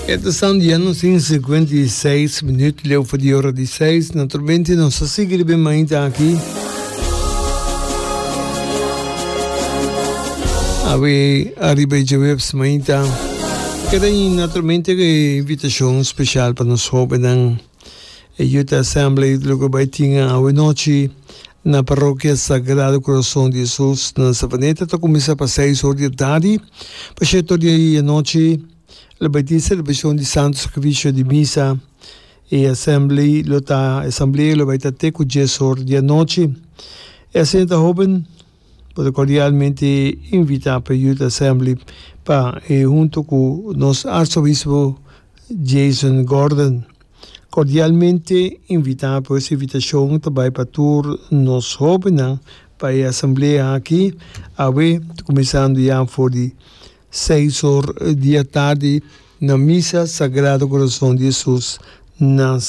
E ta staan dia nos tin 56 minuut leu for di ora di 6. Naturalmente nos ta sigui riba e mainta aki. Awe ariba e djaweps mainta. Keda naturalmente e invitacion special pa nos hobennan. E Youth Assembly lo ku bai tin awe nochi na Parokia Sagrado Corazon di Jesus na Savaneta ta kuminsá pa seis or di atardi pa shete or di anochi lo bai tin selebrashon di Santo Sakrifisio di Misa. E assembly lo ta asamblea lo bai ta te ku dies or di anochi. E asina ta hoben bo ta kordialmente invitá pa Youth Assembly pa e hunto ku nos Arsobispo Jason Gordon. Cordialmente invita pues invitacion ta bay pa tur nos hobennan pa e asamblea aki awe cuminsando ya for di seis or di atardi na Misa Sagrado Corazon di Jesus na.